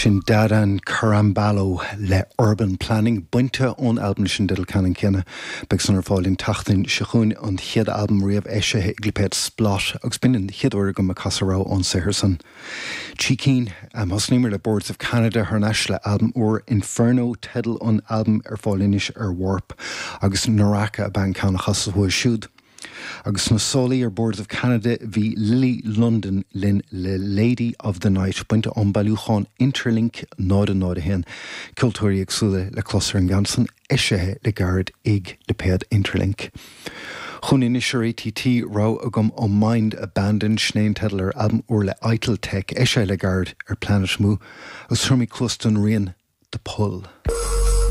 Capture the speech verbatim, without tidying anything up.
Sin Dadan Carambalo le Urban Planning bainte ón albam sin dteideal ceannann céanna. Beidh san ar fáil an tseachtain seo chugainn an chéad albam riamh eisithe ag lipéad Splot agus b'in an chéad uair agam ag casadh rogha ón saothar san. Trí cinn thosnaíomar le Boards of Canada thar n-ais le albam úr Inferno teideal an albam ar fáil anois ar Warp agus Naraka ab ea an ceann a chasas uaidh siúd. Agus sna sála ar Boards of Canada bhí Lily London linn le Lady of the Night bainte ón bailiúchán Interlink náid náid a haon ceoltóirí éagsúla le clos ar an gceann san eisithe le gairid ag lipéad Interlink. Chun anois ar ATT rogha agam ó Mind Abandoned sin é an teideal ar albam úr le Idletech eisithe le gairid ar Planet Mu agus tabharfaidh muid cluas don rian The Pull.